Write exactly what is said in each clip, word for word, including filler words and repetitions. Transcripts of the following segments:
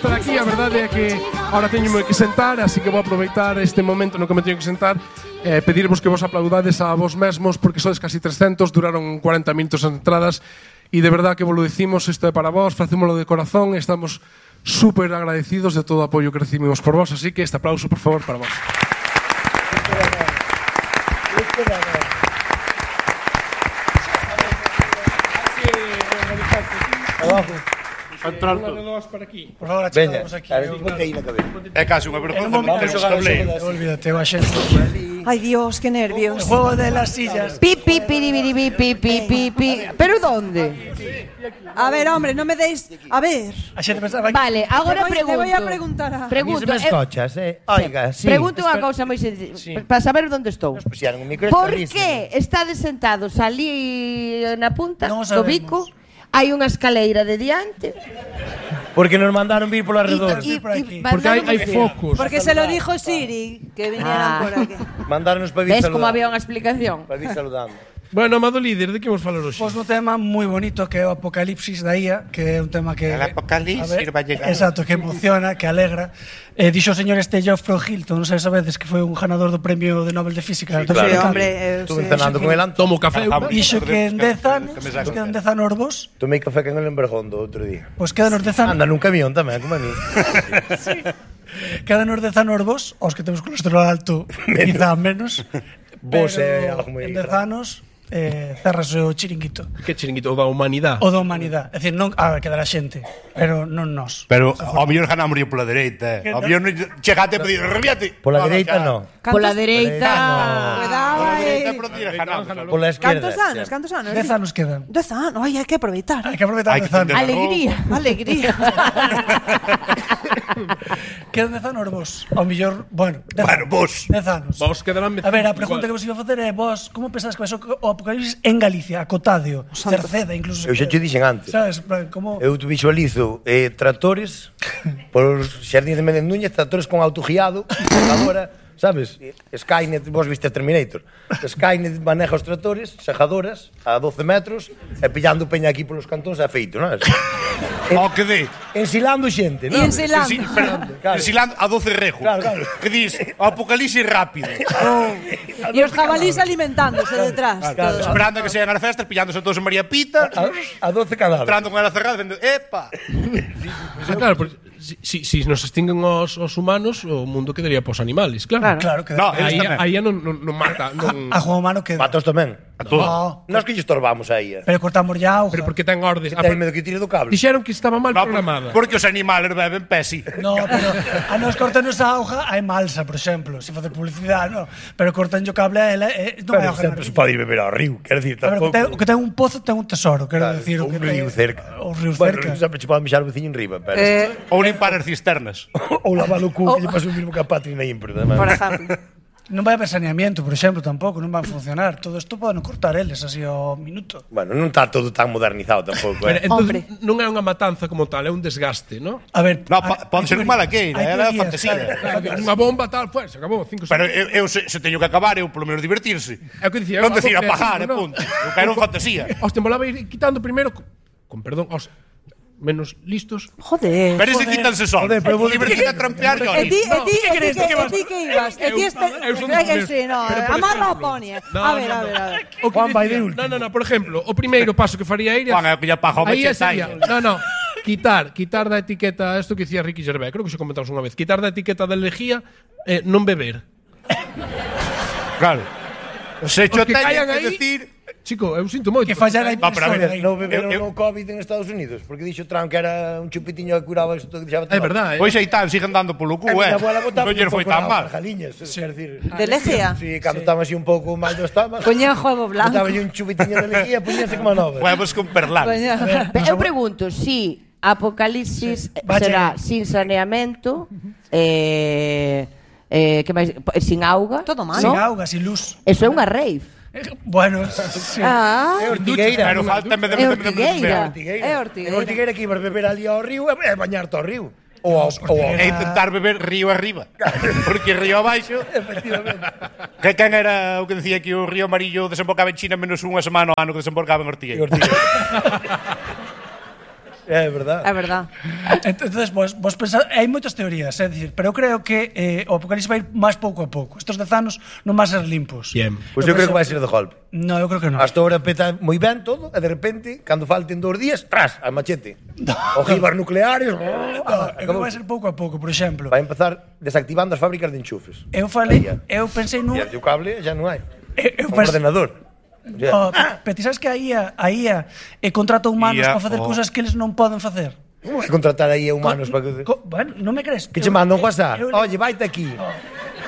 estar aquí. A verdade é que ahora teño que sentar, así que vou aproveitar este momento no que me teño que sentar e eh, pedirvos que vos aplaudades a vos mesmos porque sodes casi trescentos, duraron cuarenta minutos as entradas e de verdade que vos lo dicimos, isto é para vos, facémoslo de corazón e estamos super agradecidos de todo o apoio que recibimos por vos, así que este aplauso, por favor, para vos. Abajo. Entrar todos para aquí. Por favor, achegamos aquí. É casi unha vergonza meter os tableiros. Olvídate, o axente. Ay, Dios, qué nervios. El juego de las sillas. Pi, pi, piribiri, pi, pi, pi, pi, pi. ¿Pero dónde? A ver, hombre, no me deis... A ver. Axente pensaba que... Vale, agora Le voy- pregunto. le voy a preguntar a- Pregunto. Mis eh, escochas, eh? Oiga, sí. Pregunto unha cousa moi sencilla, para saber onde estou. Nos puxeron un micro Por estabrísimo. que estades sentados ali na punta Non o do sabemos. bico? Hai unha escaleira de diante. Porque nos mandaron vir polo arredor. Y- por y- aquí. y Porque hai, hai mandaron- focos. Porque se lo dijo Siri, que vinieran Ah. por aquí. Mandaronnos para vir Ves como saludando. había unha explicación? Para vir saludando. Bueno, amado líder, de que vamos falar hoxe? Pois un tema moi bonito que é o Apocalipsis da I A, que é un tema que... El apocalipsis A ver, va a llegar. Exacto, que emociona, que alegra. Eh, dixo o señor este Geoffrey Hilton, non sei se sabedes, que foi un ganador do premio de Nobel de Física. Sí, do claro. Sí, Física. hombre, eh, Estuve sí. cenando con el Anto. Tomo café. Dixo que en dez anos, Que me nos saco. quedan dez anos vos, Tomei café con el en Bergondo outro día. pois quedan os dez anos, Anda nun camión tamén, como a mí. quedan os dez anos vos, os que temos colesterol alto, quizá menos. Vos pero é algo moi en dez grave. anos eh, cerrase o chiringuito. Que chiringuito, o da humanidade. O da humanidade. É dicir, non, a ver, quedará xente, pero non nós. Pero ao mellor ganamos pola dereita, eh. Ao mellor non chegate a pedir, reviate. Pola dereita non. Pola dereita. Cuidado Pola aí. dereita por dir ganamos. Pola esquerda. Cantos anos, cantos anos? Dez anos quedan. Dez anos, ai, hai que aproveitar. Hai que aproveitar Hai que dez anos. entender. Alegría. Alegría. Quedan dez anos vos. Ao mellor, bueno, dez Bueno, anos. vos. Dez anos. Vos quedarán A ver, a pregunta que vos iba a facer é vos, como pensades que vai ser o apocalipsis en Galicia, a Cotádeo, Cerceda, incluso. Eu xa te dixen antes. Sabes, en plan, como... Eu te visualizo eh, tractores por os xardíns de Méndez Núñez, tractores con autoguiado, cargadora, sabes? Skynet, vos viste Terminator. Skynet maneja os tractores, sejadoras, a doce metros, e pillando peña aquí polos cantóns é feito, non é? O que dé. Ensilando xente, E non? ensilando. Ensi- pero, Claro. ensilando a doce rejos. Claro, claro. Que dis, o apocalipsis rápido. E os jabalís alimentándose detrás. claro. todos. Esperando a que sean as festas, pillándose todos en María Pita, A, a doce cadáveres. entrando con ela cerrada, dicindo, epa. Ah, claro, porque si, si, si nos extinguen os, os humanos, o mundo quedaría pos animales, claro. Claro que... No, Aí, eles tamén. aí non, non, non mata, non... A Juan Humano que... Matos tamén. A todo. No, Nós que lle estorbamos aí. Eh. pero cortamos ya auga. Pero porque ten ordes. Ah, Ten pero medo que tire do cable. dixeron que estaba mal No, programada. porque os animales beben pesi. No, pero a nos cortanos a auga hai malsa, por exemplo, se facer publicidade, no. Pero cortan o cable a ela, eh, non hai Pero auga. sempre se pode ir beber ao río, quero dicir, A ver, o tampouco. que ten, o que ten un pozo ten un tesoro, quero Claro, decir, o un que río ten- cerca. O río Bueno, cerca. sempre che pode mexar o veciño en riba, pero... Eh, Ou limpar as cisternas. Ou lavar o cu, Oh. que lle pasou o mismo que a Patri na Impro. por exemplo. Non vai haber saneamiento, por exemplo, tampouco, non van funcionar. Todo isto poden cortar eles así ao minuto. Bueno, non está todo tan modernizado tampouco, Pero, eh. entonces, non é unha matanza como tal, é un desgaste, ¿no? A ver, No, pa- pode ser un malaqueira, hai era teorías, fantasía. claro. Claro, que unha bomba tal, pues, se acabou, cinco Pero segundos. eu, eu se, se teño que acabar, eu polo menos divertirse. É o que dicía, Non algo decir creativo, apagar, eh, ¿no? punto. Eu quero fantasía. Os te molaba ir quitando primeiro, con, con perdón, os menos listos. Joder. Pero ese quítanse sol. Joder, pero vos- Divertirte a trampear, yo. E ti, e ti, e ti, crees que, que vas- e ti que ibas? E ti este... Eu son É dos que meus. sí, no, Pero, por amarra o ejemplo, poni. eh. No, A ver, no, a no. ver, a ver. O que Juan vai de dicía- último. No, no, no, por exemplo, o primeiro paso que faría ir Juan, é que lle apaga o aí machete sería, aí. no, no, quitar, quitar da etiqueta, isto que dicía Ricky Gervais, creo que xa comentamos unha vez, quitar da etiqueta da lejía eh, non beber. Claro. Se Os cho que teño caian que aí, decir... chico, eu sinto moito. Que fallar a No, pero a ver, impresora aí. Non beberon Eu- eu- no COVID en Estados Unidos, porque dixo Trump que era un chupitiño que curaba isto que deixaba É verdade, eh. Pois aí tal, siguen dando polo cu, A eh. miña abuela botaba Non lle un foi pouco tan na mal. jaliñas, quer decir. De lejía? Sí, cando estaba así un pouco mal do estómago. Coñajo huevo blanco. Botaba un chupitiño de lejía, poñíase como nova. Huevos con perlán. Coñajo. Pe- Eu pregunto si Apocalipsis Vaya. será sin saneamento, eh, eh, que máis, sin auga, Todo mal. Sin ¿no? auga, sin luz. Eso é unha rave. Eh, Bueno, sí. Ah, É ortigueira. Pero falta en vez de... É en vez de- ortigueira. É ortigueira. É ortigueira. É ortigueira que ibas beber ali ao río e e bañarte ao río. Ou ao, ou ao, E intentar beber río arriba. Porque río abaixo... efectivamente. Que quen era o que decía que o río amarillo desembocaba en China menos unha semana ao ano que desembocaba en É Ortigueira? ortigueira. É verdad. É verdad. Entonces, vos, vos pensad, hai moitas teorías, é dicir, pero eu creo que eh, o apocalipsis vai ir máis pouco a pouco. Estos dez anos non van ser limpos. Bien. Pois eu creo que vai ser de golpe. No, eu creo que non. Hasta ahora peta moi ben todo, e de repente, cando falten dous días, tras, al machete. Ojivas nucleares. No, eu creo que vai ser pouco a pouco, por exemplo. Vai empezar desactivando as fábricas de enchufes. Eu falei, eu pensei nun... E o cable xa non hai. Eu, eu Un pensei, ordenador. oh, pero ti sabes que a I A, a I A eh, contrata humanos I A, para facer oh. cousas que eles non poden facer? Como vai contratar aí a humanos para que... Co, bueno, non me crees? Que che manda un WhatsApp? Eu- Oye, vaite aquí.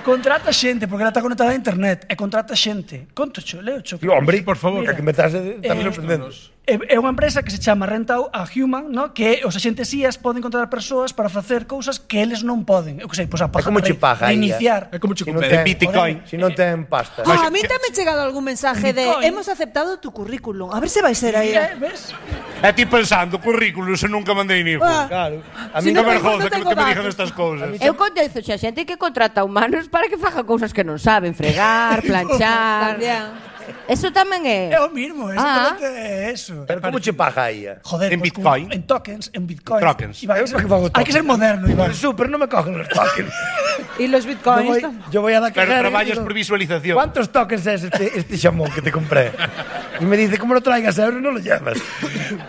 Contrata xente, porque ela está conectada a internet, e contrata xente. Contocho, leo cho. Sí, hombre, por favor. Que, que me estás eh, tamén Eh, sorprendendo. É é unha empresa que se chama Rentau a Human, no? Que os axentes I As poden contratar persoas para facer cousas que eles non poden. Eu que sei, pois a paja, como che paga a I A? iniciar. É como che Si non compete. ten Bitcoin. Si non ten pasta. Ah, a mí tamén ha chegado algún mensaje de Bitcoin. hemos aceptado tu currículum. A ver se vai ser aí. Eh, ves? E ti pensando, currículum, se nunca mandei ni hijo. Ah. Claro. A Si mí non Que me- vergonza non que, tengo que me digan datos. estas cousas. Eu condezo xa xente que contrata humanos para que fagan cousas que non saben, fregar, planchar. También. Eso tamén é. É o mismo, exactamente é eso. Pero como che paga a I A? Joder, En pues, Bitcoin. con- en tokens, en Bitcoin. Tokens. Iván, Eu para que fago hai que ser moderno, Iván. El super non me cogen los tokens. Y los Yo bitcoins. voy, tam- yo voy a la Pero cajera y traballas digo, por visualización. ¿cuántos tokens es este, este chamón que te compré? Y me dice, ¿cómo lo traigas a euros? No lo llevas.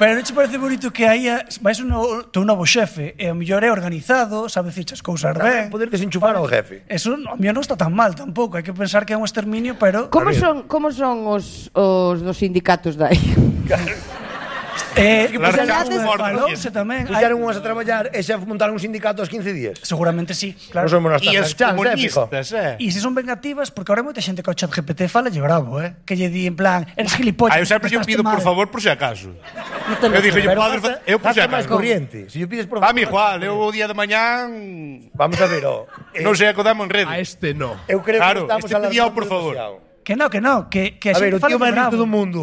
Pero non che parece bonito que aí vais un novo, teu novo xefe, e o mellor é organizado, sabe dicir as cousas ben. Poder desenchufar ao jefe. Eso, o mellor non está tan mal tampouco, hai que pensar que é un exterminio, pero... Como son, como son os, os dos sindicatos dai? Eh, Las pues, casas ya, fortes. falouse tamén. hai- Puxeron unhas a traballar e xa montaron un sindicato aos quince días. Seguramente sí, claro. Non somos nós E tan os chans, eh, fijo. comunistas, eh. E se son vengativas, porque ahora hai moita xente que ao chat G P T fala lle bravo, eh? Que lle di en plan, eres gilipollas. Ah, eu sempre lle portaste pido, por mal. favor, por si acaso. No te lo Eu dixo, Pero padre, gasta- eu por si gasta máis acaso. corriente. Se yo pides por A favor... mi igual, eu o día de mañán Vamos a ver, oh. eh, non sei acodamos en rede. A este no. Eu creo Claro, que estamos este pedía, alargando por favor. demasiado. Que no, que no, que, que A ver, o xente tío fala máis bravo. rico do mundo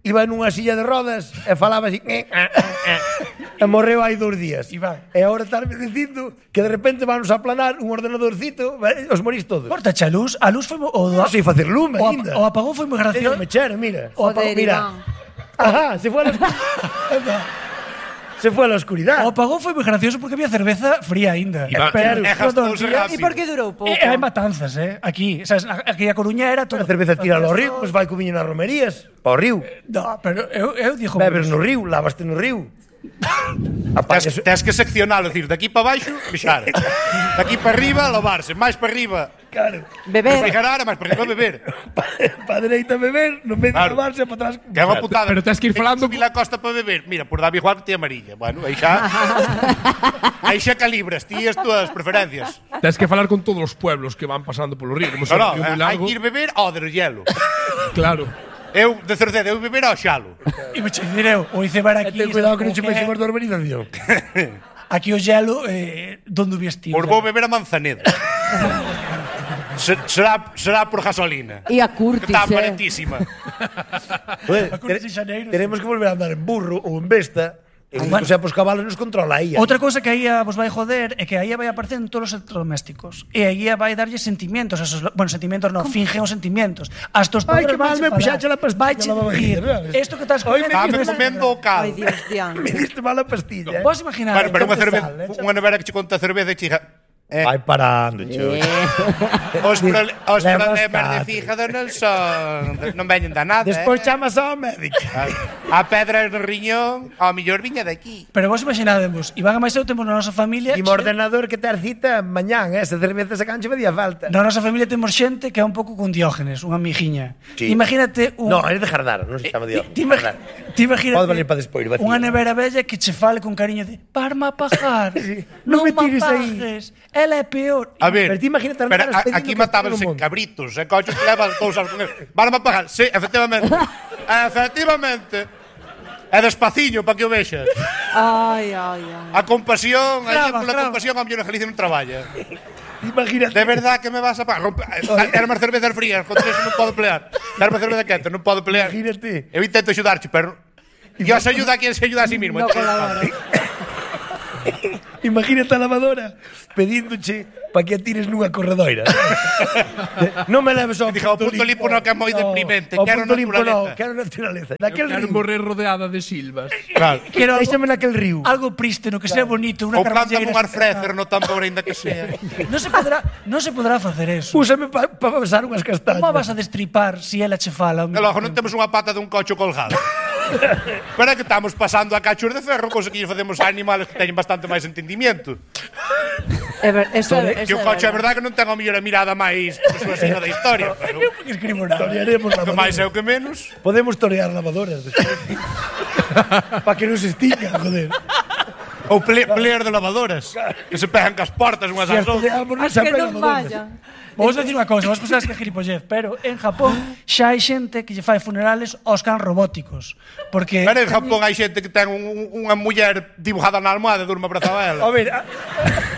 iba nunha silla de rodas e falaba así eh, eh, eh, eh, e morreu hai dous días. Iván. E agora estarme dicindo que de repente vamos a aplanar un ordenadorcito e os morís todos. Cortache a luz, a luz foi mo- o, Non sei facer lume o, ainda. ap- o apagón foi moi Teño gracioso. mechero, mira. O Joder, apagón, mira. Iván. Ajá, se fue a la oscuridad. Se fue a la oscuridad. O apagón foi moi gracioso porque había cerveza fría aínda. Iván, Pero, e gastouse todo o día- rápido. ¿Y por qué duró poco? E hai matanzas, eh? Aquí, sabes, aquí a Coruña era todo. A cerveza tira ao río, pois vai co viño nas romerías, para o río. No, pero eu, eu dixo... Bebes no río, lavaste no río. Apagas, Tes, tes que seccionalo, decir, de aquí para baixo, bixar. De aquí para arriba, lavarse. Máis para arriba, claro. Beber. refrigerar, e máis para arriba, beber. Para dereita beber, no medio Claro. lavarse, para atrás. Que é unha putada. Pero tes que ir falando- Subir a costa para beber. Mira, por David Juan que te amarilla. Bueno, aí xa... aí xa calibras ti as túas preferencias. Tens que falar con todos os pueblos que van pasando polo río, como No, se no, un río moi hai largo. que ir beber ao del hielo. Claro. Eu, de certeza, eu beber ao xalo. E me che diré, o icebar E aquí... ten cuidado que non che o peixemos da urbanización. Aquí o gelo, eh, donde o vestir. Por vou beber a manzaneda. Se- será, será por gasolina. E a Que Curtis, está eh. baratísima. Joder, A Curtis te- de Xaneiro, tenemos que volver a andar en burro ou en besta. E bueno. o sea, os cabalos nos controla aí. Outra cousa que a I A vos vai joder é que a I A vai aparecer en todos os electrodomésticos. E a I A vai darlle sentimientos. A esos, bueno, sentimientos non, fingen os sentimientos. As tostadoras Ai, que mal vanche me falar. puxache la pastilla, Vaiche la babajilla, dicir, ¿sabes? Esto que estás Hoy me comendo... Estame es- comendo o cal. Ay, Dios, Dian. Me diste mala pastilla. eh. Vos imaginar... Bueno, pero unha échate cerveza, sal, échate- unha nevera que che conta cerveza e chica. Eh, Vai parando, cheo. os prole- os Levas problemas de catro. fígado non son non veñen da nada. Despois eh. chamas ao médico. A pedra no riñón, ao mellor viña de aquí. Pero vos imaginademos, Iván e máis eu temos na nosa familia... E mo ordenador que ter cita mañán, eh? Esa cerveza se canche facía falta. Na nosa familia temos xente que é un pouco con Diógenes, unha amigiña. Sí. Imagínate un... No, é de Jardar, non se chama Dios. Ti, ti, imagi- ti imagínate Pode valer para despois, vacío. unha nevera bella que che fale con cariño de parma a pajar, Non non me me tires aí. apagues, ela é peor. A ver, Pero ti imagínate pero andar a- expedindo aquí que matábanse todo o mundo. cabritos, e coches que levan cousas con eles. Van a pagar, sí, efectivamente. efectivamente. É despaciño para que o vexas. Ay, ay, ay. A compasión, aí Grava, pola grava. compasión a mellor en Galicia non traballa. Imagínate. De verdad que me vas a pagar. Rompe- Era máis cervezas frías, contra eso non podo pelear. Era máis cerveza quente, non podo pelear. Imagínate. Eu intento axudarte, pero Dios ayuda a quien se ayuda a sí mismo. No Entonces, colabora. Imagínate a lavadora pedíndoche para que a tires nunha corredoira. Non me leves ao Diga, o punto limpo non, que é moi deprimente. O Quero punto limpo non, naturaleza. quero naturaleza. Naquel Quero río. morrer rodeada de silvas. Claro. Quero algo, Déxame naquel río. algo prísteno, que sea bonito, unha Ou planta carballeira. un arfrecer no tambor, ainda que sea. Non se podrá, non se podrá facer eso. Úsame para pa pasar unhas castañas. Como vas a destripar si ela che fala? E logo non temos unha pata dun cocho colgado. Pero é que estamos pasando a cachos de ferro, cousa que lle facemos a animales que teñen bastante máis entendimiento. É ver, eso, é- Que eso o é coche é verdade. verdade que non ten a mellor a mirada máis persuasiva da historia. Pero Que escribo nada. Torearemos o que máis é lavadoras. o que menos. Podemos torear lavadoras. Para que non se extinga, joder. Ou ple pleer de lavadoras. Que se pegan cas portas unhas Se ás as outras. toreamos, non As que sempre hai non lavadoras. vayan. Vamos a decir unha cousa, vos pensades que é gilipollez, pero en Japón xa hai xente que lle fai funerales aos cans robóticos. Porque Pero en Japón hai xente que ten un, un, unha muller dibujada na almohada e durma abrazada a ela. A ver, a-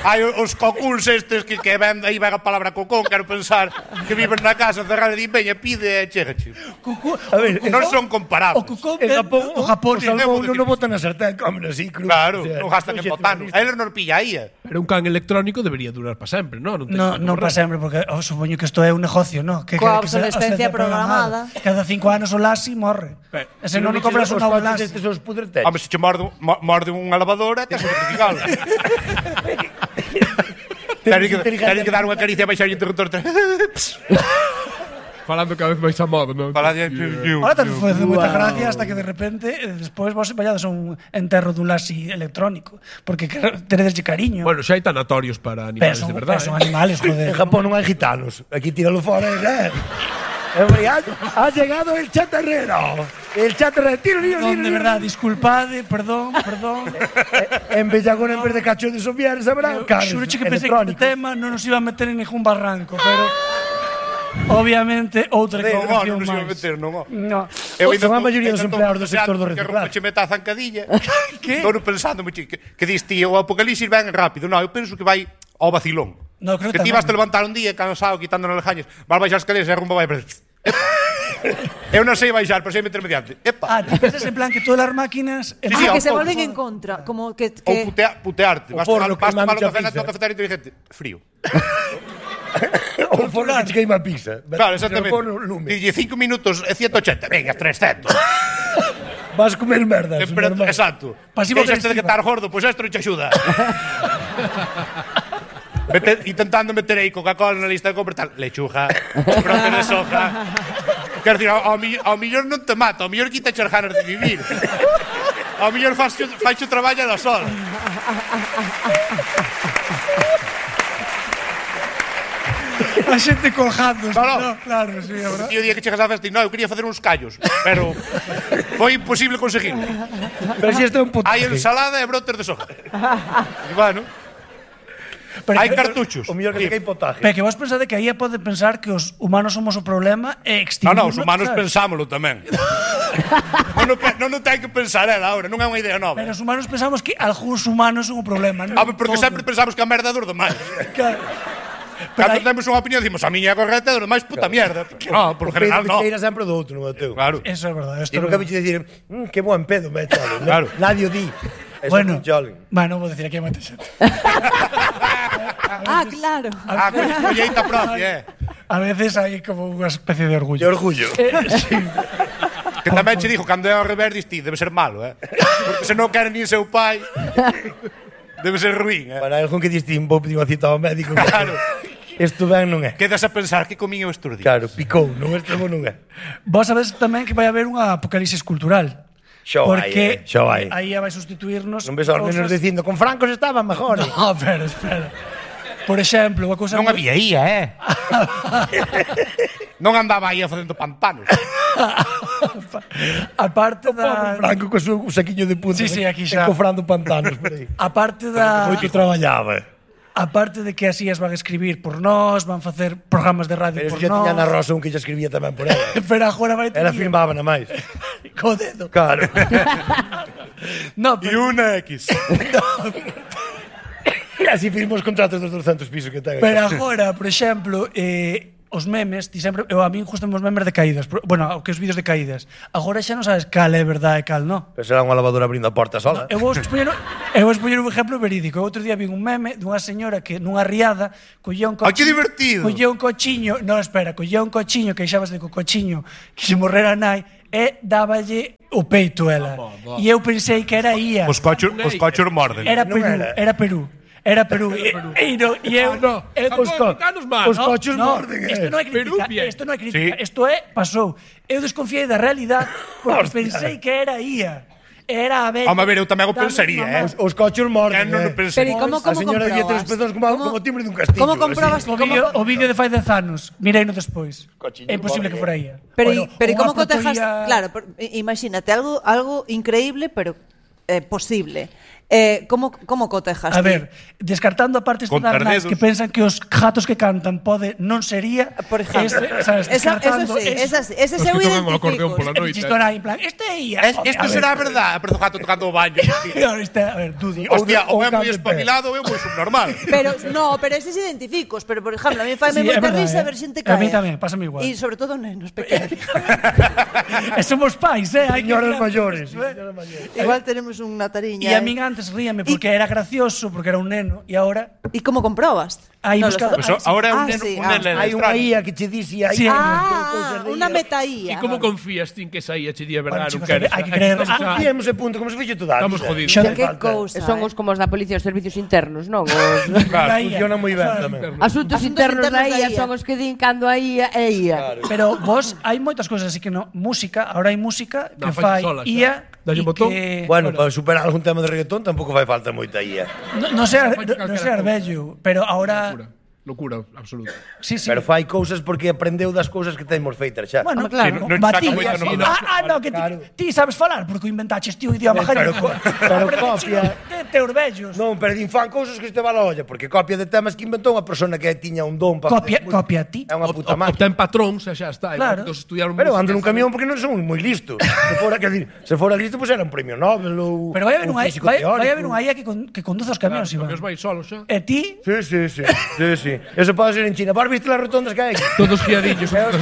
Hai os coculs estes que, que ven, aí vai a palabra cocón, quero pensar que viven na casa cerrada e di, veña, pide e chegache. Cucú, a ver, Non son comparables. o cucón en é- Japón, o Japón o é- salmón debo non o decir. botan na sartén, comen así, cru. Claro, O sea, non gastan en xente botano. humanista. A eles non pilla aí. eh. Pero un can electrónico debería durar para sempre, non? Non, ten No, que non morrer. para sempre, porque oh, supoño que isto é un negocio, ¿no? Que, Coa que, que se- obsolescencia obsolescencia programada. Cada cinco anos o Lassi morre. Pero, E se non Os compras un novo coches Lassi. estes os pudretes. Home, se che morde, mo- morde unha lavadora, tens que certificalo. Tenes que, tenes que dar unha caricia e baixar o interruptor. Falando cada vez máis a moda, non? Para de... Ahora te foi de moita gracia hasta que de repente eh, despois vos vallades a un enterro dun Lassi electrónico, porque teredes cariño. Bueno, xa hai tanatorios para pero animales son, de verdade. pero son eh. animales, joder. En Japón non hai gitanos. Aquí tíralo fora, eh. Hombre, ha, ha llegado el chatarrero. El chatarrero. Tiro, tiro, Non, tiro, de tiro. verdad, disculpade, perdón, perdón. En Bellagón, en vez de cacho de soviar, sabrá, carros Xuro che que pensei que este electrónicos. tema non nos iba a meter en ningún barranco, pero obviamente outra Non, declaración non se iba a máis. meter, non. No. Eu ainda Son a tô- maioría dos ainda tô empleados do deseando sector do que reciclaje. rompa chemeta a zancadilla. Que? Estou pensando, que, que dis ti, o apocalipsis ven rápido. Non, eu penso que vai ao vacilón. No, creo que que ti tamén. vas te levantar un día cansado, quitando nas lejañas, vas baixar as escaleras e a rumba vai para... Eu non sei baixar, pero sei meterme diante. Epa! Ah, ti pensas en plan que todas as máquinas Sí, Ah, sí, que ao se pouco. volven en contra. Como que... Ou que putea, putearte. O Vas forno tomar, vas queimando tomar un a café na pizza. tua cafetería inteligente. Frío. O forno que che queima a pizza. Claro, exactamente. O forno lume. Dille cinco minutos e ciento ochenta. Venga, trescentos. Vas comer merdas. Temperatura, normal. exacto. Pasivo Deixaste de que agresiva. estar gordo, pois pues esto non te axuda. Mete, intentando meter aí Coca-Cola na lista de compra tal. Lechuga, brotes de soja. Quero dicir, ao, ao, mi- ao millor non te mata, ao millor quita as ganas de vivir. Ao millor faz o traballo da sol. A xente colgando. Claro. No, claro, sí, a verdad. E o día que chegas á festa, no, eu quería facer uns callos, pero foi imposible conseguir. Pero si este é un puto. Hai ensalada e brotes de soja. E bueno, Pero hai que- cartuchos. O mellor que te cae potaje. Pero que vos pensade que aí pode pensar que os humanos somos o problema e No, extinguirnos. no, os humanos sabes? pensámoslo tamén. non, o pe- non o ten que pensar ela ahora, non é unha idea nova. Pero os humanos pensamos que algúns humanos son o problema, non? Ah, porque Todos. sempre pensamos que a merda é dos demais. Claro. Pero Cando hai- temos unha opinión, dicimos a miña é correcta e dos demais puta mierda. No, por lo general Pedro no. que cheira sempre do outro, non é o teu. Claro. Eso é verdade. E Esto nunca é me dicir, mmm, que buen pedo, me chalo. Claro. Nadie o di. Eso Bueno, é un cholen. bueno, vou decir aquí a moita xente. Ah, claro. Ah, con escolleita propia, eh. A veces hai como unha especie de De orgullo. orgullo. Eh, sí. Que tamén che dixo, cando é ao revés, dis ti, debe ser malo, eh. Porque se non quere nin seu pai, debe ser ruín, eh. Para algún que diste un vou pedir unha cita ao médico. Claro. Isto ben non é. Quedas a pensar que comín eu estes días. Claro, picou, non este bo non é. Vos sabes tamén que vai haber unha apocalipsis cultural. Xo hai, Porque eh, xo hai. aí vai sustituirnos. Non ves aos nenos cousas- dicindo, con francos estaban mejor. No, espera, espera. Por exemplo, unha cousa Non moi- había ía, eh. Non andaba aí facendo pantanos. a parte Pobre da Franco co seu saquiño de punta. Sí, sí, aquí xa. Encofrando pantanos por aí. a parte da Moito traballaba. a parte de que así as van a escribir por nós, van facer programas de radio Pero por eso xa nós. tiña na Rosa un que xa escribía tamén por ela. Pero agora vai Ela firmaba na máis. co dedo. Claro. No, E pero, unha X. E así firmou os contratos dos doscientos pisos que ten. pero agora, por exemplo, eh, os memes, ti sempre, eu a mí gustan os memes de caídas, pero, bueno, o que os vídeos de caídas. Agora xa non sabes cal é verdade e cal non. Pero será unha lavadora abrindo a porta sola. Eu vou expoñer, eu vou expoñer un exemplo verídico. Outro día vi un meme dunha señora que nunha riada collía un cochiño. ¡Ay, que divertido! Collía un cochiño, non, espera, collía un cochiño, que xabas de co cochiño, que se morrera a nai, e dáballe o peito ela. E eu pensei que era ía. Os cochos, os cochos morden. Era Perú, era Perú. Era Perú. E, e, no, e eu, no, eu, os co- os cochos no, morden, Isto non é Perú, crítica, bien. isto non é crítica, Sí. isto é, pasou. Eu desconfiei da realidade porque pensei que era ía. Era a ver. Home, a ver, eu tamén o pensaría, eh. Os, os cochos morden, Que non o eh. pensei. Pero ¿y cómo, A cómo señora lle tres comprobas? pezóns como, ¿Cómo- como timbre dun castillo. ¿Cómo comprobas? así. O vídeo, o vídeo de fai dez anos, mirei no despois. Cochiño É imposible que morde. fora ía. Pero, Bueno, y- pero ¿y unha cómo cotejas? protoía- Claro, por- i- imagínate, algo, algo increíble, pero eh, posible. Eh, ¿cómo, ¿Cómo cotejas? A ti? ver, descartando a partes de Contar Darnais dedos. que pensan que os gatos que cantan pode non sería, Por ejemplo. ese, sabes, Esa, eso descartando sí, esa, sí, ese Os se que tocan o acordeón identifico. pola E noite. chistora en plan, este é ía. Es, isto será verdade, pero o gato tocando o baño. Claro, este, a ver, Dudi. Hostia, Ou ou é moi cambio de pé. espabilado ou é moi subnormal. Pero, no, pero eses identificos. Pero, por ejemplo, a mí faime Sí, é moita verdade, risa eh. ver xente A caer. mí tamén, pásame igual. E sobre todo nenos pequenos. E somos pais, eh? hai que Señoras mirar mayores. isto, eh. señoras mayores. Igual tenemos unha tariña. E a eh. min antes ríame porque era gracioso, porque era un neno, e agora E como comprobas? Aí No lo buscado- sabes. Pues ahora é un Ah, neno, sí, un ah. neno Hai unha extraño. ía que che dixe aí. Sí. Ah, unha E metaía. como confías ti en que esa ia che di a Bueno, verdade? chicos, Non queres? hai que creer. Estamos Ah, xa- Confiemos e punto, como se fixo toda a Estamos vida. jodidos. Xo- Non Que falta. cousa. Son eh. os como os da policía, os servicios internos, non? Os Claro. Funciona moi ben tamén. asuntos Asuntos internos da internos da I A I A. son os que din cando a I A é I A. Pero vos, hai moitas cousas así que no, música, ahora hai música que Non, fai fai sola, xa. I A Dalle e un botón. que Bueno, para superar algún tema de reggaetón tampouco fai falta moita ía. no, no sei, Fai no, no calquera sei cousa. arbello, pero ahora Locura, locura absoluta. sí, sí. Pero fai cousas porque aprendeu das cousas que temos feitas xa. Bueno, Home, claro. claro, non Matías. saca moito no- Ah, ah, no, que ti, Claro. ti sabes falar porque o inventaches ti o idioma Pero gallego. co- pero copia. De teus vellos. Non, pero din fan cousas que este va a la olla, porque copia de temas que inventou unha persona que tiña un don para Copia, copia ti. É unha puta O- máquina. Obtén patrón, xa xa está. Claro. Claro. Estudiaron Pero música, ando nun saben. camión porque non son moi listo. Se fora, quer dir, se fora listo, pois era un premio Nobel ou Pero vai haber ou unha físico vai, teórico. vai haber unha I A que, con, que conduce os camións, Claro, Iván. os vai solo xa. E ti Sí, sí, sí. Sí, sí. Eso pode ser en China. Vos viste las rotondas que hai aquí? Todos guiadillos. E os,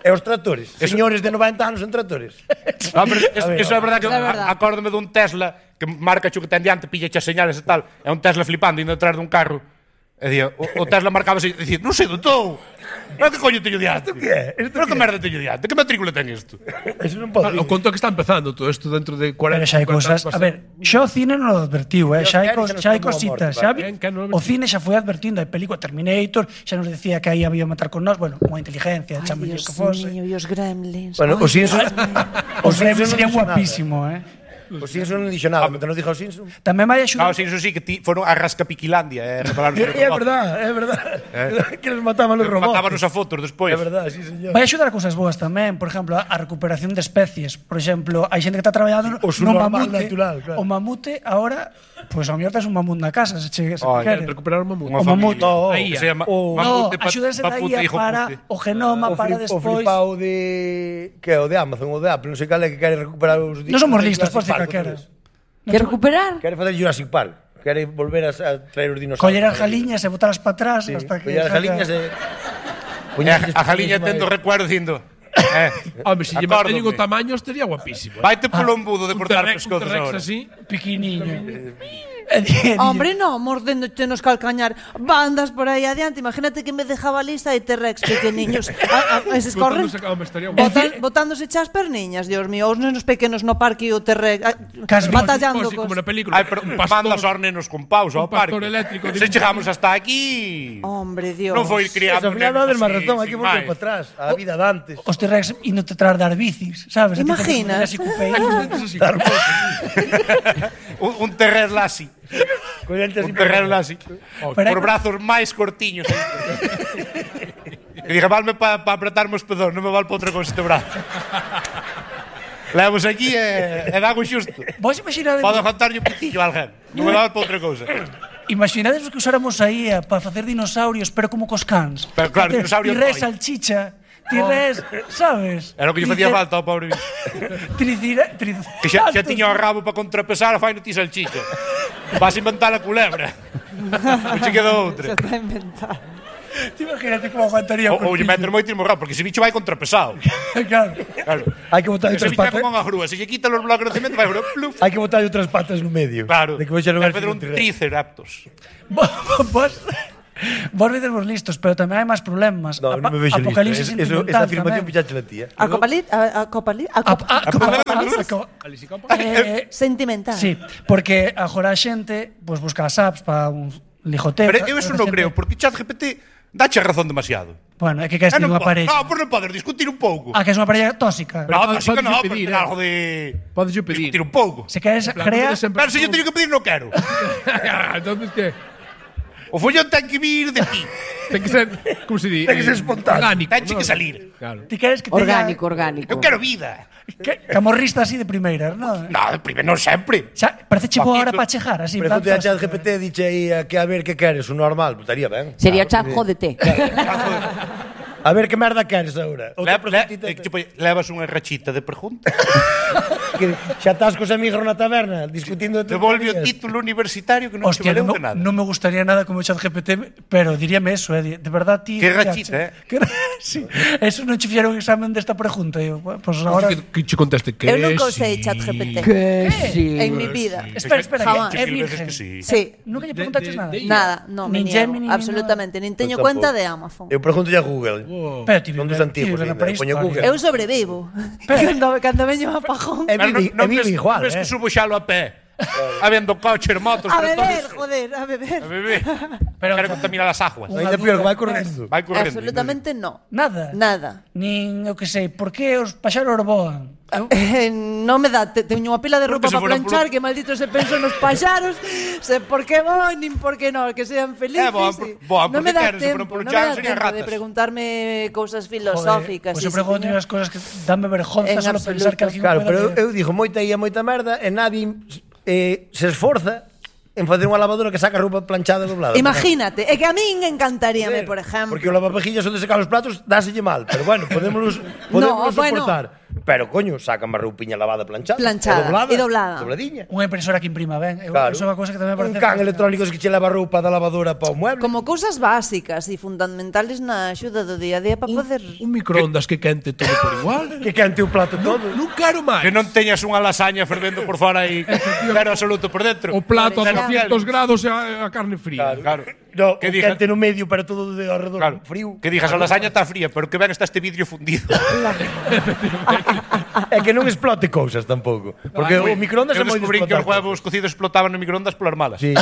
e os tractores. Señores de noventa anos en tractores. No, pero es, A ver, eso é verdade que Eso é verdade. a- acórdome dun Tesla que marca cho que ten diante, pilla as señales e tal. É un Tesla flipando indo detrás dun carro. E día, o, o Tesla marcaba así, dicir, non sei do tou. Pero que coño teño diante? Isto que é? Isto Pero que que é? merda teño diante? Que matrícula ten isto? Eso non pode. O conto que está empezando todo isto dentro de cuarenta Pero xa hai cincuenta cousas, anos, a ver, xa o cine non o advertiu, eh? xa hai, Yo, cos, Eric, xa hai nos tomou a cositas, morte, xa vale. vi, Que non o o cine xa foi advertindo, a película Terminator xa nos decía que aí había matar con nós, bueno, unha inteligencia, Ay, chamalle Dios que fose. mío, e os gremlins. Bueno, Ay, os Simpsons... Os Gremlins non sería dixo nada. guapísimo, eh? Os Simpsons non dixo nada, pero non dixo os Simpsons. Tamén vai axudar. Claro, sí, eso sí, que ti, foron a Rascapiquilandia, eh, repararon É é verdade, é verdade. Que les mataban os robots. Matábanos a fotos despois. É verdade, sí, señor. Vai axudar a cousas boas tamén, por exemplo, a, a recuperación de especies. Por exemplo, hai xente que está traballando O su no normal mamute. natural, claro. O mamute ahora, pois pues, ao mellor tes un mamut na casa, se che se Ai, quere. Recuperar o mamut. Unha O mamut. familia. No, que se llama o- No, mamute, pa- axúdense da papute, I A hijo para pute. o genoma o, para flip, o despois. flipao de... Que é o de Amazon, o de Apple, non sei cal é que quere recuperar os... Non somos listos, Jurassic por si Park, calquera. outra vez. Que recuperar? Quere facer Jurassic Park. Quere volver a, a traer os dinosaurios. Coller as jaliñas e botalas para atrás Sí, hasta que coller as saca- jaliñas e... E a, a jaliña tendo recuerdo dicindo eh, Home, se lle acórdome. manteñen o tamaño estaría guapísimo. eh. Vaite polo embudo de Un cortar T-Rex, un pescozos T-Rex ahora. así. Pequeniño. E di- Hombre, no, mordéndote nos calcañar. Bandas por aí adiante. Imagínate que en vez de jabalista hai T-Rex pequeniños. A, a, eses corren Botándose, home, estaría guapo. botan, botándose chas perniñas, Dios mío. Os nenos pequenos no parque e o T-Rex ah, Cas- batallando Así como cos... na película. Ai, pero un manda pastor. os nenos con paus ao un pastor parque. eléctrico de Se un- chegamos hasta aquí. Hombre, Dios. Non foi criado Ao final nenos dades máis así, razón, hai que sin volver máis. para atrás. A vida de antes. Os T-Rex indo te trar dar bicis, sabes? A ti te Imaginas? así co peíño. un, un terrer lassi. Collente así Un terrer lassi. Pero Por hai- brazos máis cortiños. Que diga, valme para pa apretarme os pedóns, non me val para outra cousa este brazo. Levamos aquí e, e dago xusto. Vos imaginades, Podo jantarlle un pitillo a alguén. Non me val para outra cousa. imaginades que usáramos a I A para facer dinosaurios, pero como cos cans. Pero claro, Facer dinosaurio Tirés toy. salchicha, tirés, sabes? Era o que lle facía falta ao pobre bicho. Tricira, tric... Que xa, xa tiña o rabo para contrapesar, fai no ti salchicha. Vas a inventar a culebra. Non che quedou outra. Se está inventando. Ti imagínate como aguantaría Ou lle meter moito morrado, porque ese bicho vai contrapesado. Claro. Claro. Hai que botar Ese outras bicho vai patas. como unha grúa, se lle quita os blocos de cemento vai grúa, pluf. Hai que botar outras patas no medio. Claro. De que vai ser vai fazer un triceraptos. Vos Vos vedes vos listos, pero tamén hai máis problemas. No, non me vexo listo. Apocalipsis Es- Eso, esa afirmación fixache la tía. A copalit, a, a copalit, a, A, cop, a, a, eh, sentimental. sí, porque agora a xente pues, busca as apps para un ligoteo. Pero eu eso non creo, porque ChatGPT dache razón demasiado. Bueno, é que queres Ah, ter non unha po- parella. No, por non poder discutir un pouco. Ah, que é unha parella tóxica. Pero No, podes- tóxica podes no, pedir, pero eh. algo de... Podes yo pedir. Discutir un pouco. Se queres En plan, non crear... queres sempre- Pero se yo teño que pedir, non quero. Entonces, ¿qué? O follón ten que vir de ti. Ten que ser, como se di? Ten que ser espontáneo. Orgánico. Tenche ¿no? que salir. Claro. Ti queres que teña... Orgánico, orgánico. Eu quero vida. Que, camorrista así de primeiras, non? No, primeiro non sempre. Xa, parece che boa hora Paquito. para chejar, así. Pero en plan te a tóxica. chat G P T diche aí a que a ver que queres, o normal, pues estaría ben. Sería Claro, chat, porque- jódete. A ver que merda queres agora. Le, Outra le, preguntita. eh, tipo, levas unha rachita de preguntas. Que xa estás cos amigos na taberna discutindo de Devolve o tonterías. título universitario que non Hostia, te valeu non, de nada. non me gustaría nada como chat G P T, pero diríame eso, eh, de verdad ti... Que rachita, eh? Que, sí, eso non che fixeron examen desta pregunta, eu, pues ahora... Que, que che conteste que Eu nunca usei sí. ChatGPT Que sí. en mi vida. Espera, espera, Jamás. que é Mil veces virgen. que sí. Sí. Nunca lle De- preguntaches de- nada. de- Nada, no, me Nin niego, Gemini, nin absolutamente. Nin teño Eu cuenta tampouco. de Amazon. Eu pregunto a Google. Pero ti Son dos vive- antigos, ti vive na ainda. Poño prehistoria. Google. Eu sobrevivo. Cando, cando veño un apajón. É Pero vive, é vive ves, igual, ves eh. que subo xalo a pé. Habendo coches, motos, A por beber, todos- joder, a beber. A beber. Pero- Quero contaminar as aguas. Ainda peor que vai correndo. Vai correndo. Absolutamente no. Nada. Nada. Nin, eu que sei, por que os paxaros voan? Eu, Eh, non me dá, te, teño unha pila de roupa Porque se para foran planchar, polo- que maldito se penso nos paxaros, se por que voan, nin por que non, que sean felices. Eh, voan por- e- voan non porque me dá queren, se foran tempo, polo non me chan, dá serían tempo de ratas. preguntarme cousas joder, filosóficas. pois eu sí, pregunto señor. unhas cousas que danme vergonza En só pensar que absoluto. alguén Claro, pueda pero eu, leer. eu digo moita e moita merda e nadie eh, se esforza en facer unha lavadora que saca roupa planchada e doblada. Imagínate, é que a min encantaríame, por ejemplo. Porque o lavavajillas onde secar os platos dáselle mal, pero bueno, podémoslos podémoslos No, bueno. soportar. Pero coño, sacan má roupiña lavada planchada, Planchada, e doblada, e doblada. Dobradiña. Unha impresora que imprima ben. Eu, Claro. Eso é unha cousa que tamén me Un parece... can electrónico que che leva a roupa da lavadora para o mueble. Como cousas básicas e fundamentales na axuda do día a día para poder... Un microondas que quente todo por igual. Que cante o plato todo. Non quero máis. Que non teñas unha lasaña fervendo por fora e cero absoluto por dentro. O plato a Claro. doscientos grados e a, a carne fría. Claro. No, Que o diga- quente no medio, pero todo de alrededor Claro. frío. Que dijas, a lasaña está fría, pero que ben está este vidrio fundido. É que non explote cousas tampouco. Porque o microondas Eu é moi de descubrí que os explotar huevos cocidos explotaban no microondas polas malas. Sí.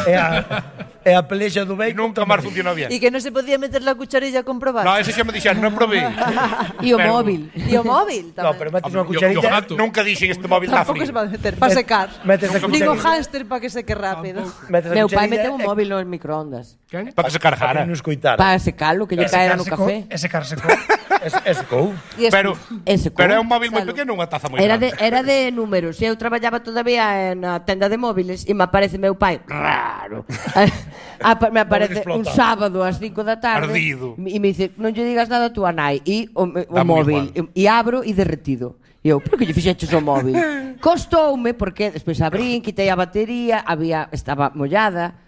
É a, é a pelexa do E bacon. nunca máis funcionou bien. E que non se podía meter la cucharilla a comprobar. No, ese xa me dixeron, non probei. E o Pero- móvil. E o móvil No, tamén. pero metes unha Yo- yo cucharilla. gato. Nunca dixen este móvil está Tampouco frío. se va a meter, para secar. Metes a Nin o cucharilla. hámster para que seque rápido. Metes a Meu pai cucharilla meteu un e- móvil no microondas. Quen? Para que se cargara. Para non escoitara. Para secalo, que lle caera no café. Ese car secou. Es, es cou. E Pero, Ese pero é co- un móvil moi Salud. pequeno, unha taza moi Era de, grande. era de números. Eu traballaba todavía na tenda de móviles e me aparece meu pai raro. Ah, pa- me aparece un explotado. sábado ás cinco da tarde Ardido. e me dice, non lle digas nada a túa nai e o, o Dá moi móvil e, e abro e derretido. E eu, por que lle fixeches o móvil? Costoume porque despois abrín, quitei a batería, había estaba mollada.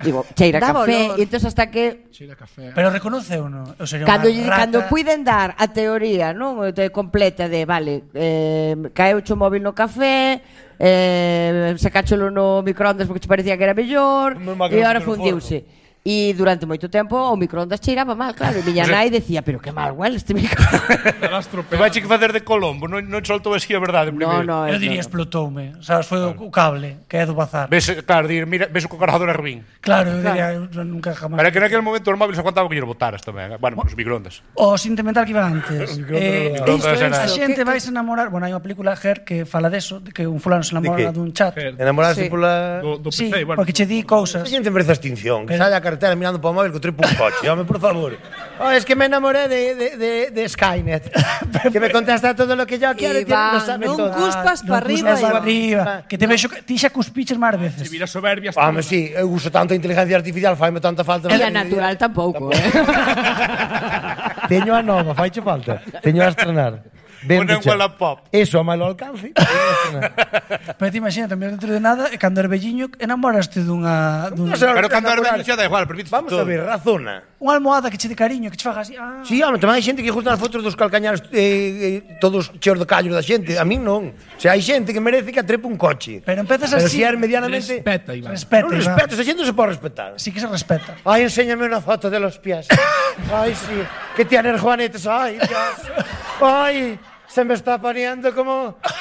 Digo, cheira Daba café, olor. e entón hasta que Cheira café. Pero reconoce ou non? Eu sería Cando, unha lle- rata. cando puiden dar a teoría, non, de completa de, vale, eh, caeu o móvil no café, eh, sacácholo no microondas porque te parecía que era mellor, Non me e agora no fundiuse. E durante moito tempo o microondas cheiraba mal, claro, e miña nai decía, pero que mal huele este microondas. Que vai che que facer de Colombo, non, non soltou así a verdade No, primeiro. no, Eu es- diría no, no. explotoume. Sabes, foi o, o cable, que é do bazar. Ves, claro, dir, mira, ves o cargador é ruín. Claro, eu diría, eu nunca jamás. Pero é que naquele momento os móviles aguantaban que lle botaras tamén. Bueno, os microondas. O sentimental que iba antes. eh, Microondas isto é, era- a xente vai se enamorar. Bueno, hai unha película Her que fala deso, de que un fulano se De namora que? dun chat. Her. Enamorarse Sí. pola... Do, do Sí, P C, bueno. porque che di cousas. A xente merece a extinción. Que saia a carretera mirando para o móvil que tripo un coche. Home, por favor. Oh, es que me enamoré de, de, de, de Skynet. Que me contesta todo lo que yo quiero y Iván, lo sabe non todo. cuspas Non para arriba, cuspas Iván. para arriba. Que te vexo, que- ti xa cuspiches máis veces. Se vira soberbia. Home, sí, eu uso tanta inteligencia artificial, faime tanta falta. E a natural tampouco, eh? Teño a nova, faiche falta. Teño a estrenar. Una en Wallapop. Eso a malo alcance. Pero te imagínate, dentro de nada, e cando eres velliño, enamoraste dunha... dunha... Pero cando eres vello xa da igual, permites Vamos a ver, razona. Unha almohada que che de cariño, que che faga así... Ah. Sí, home, tamén hai xente que gusta as fotos dos calcañares eh, eh, todos cheos de callos da xente. A min non. O sea, hai xente que merece que atrepe un coche. Pero empezas Pero así... si eres medianamente... Respeta, Iván. Respeta, Non Iván. respeto, esa xente non se pode respetar. Sí que se respeta. Ay, enséñame una foto de los pies. Ay, sí. Que tienes juanetes. Ay, Dios. Ay, se me está poniendo como... como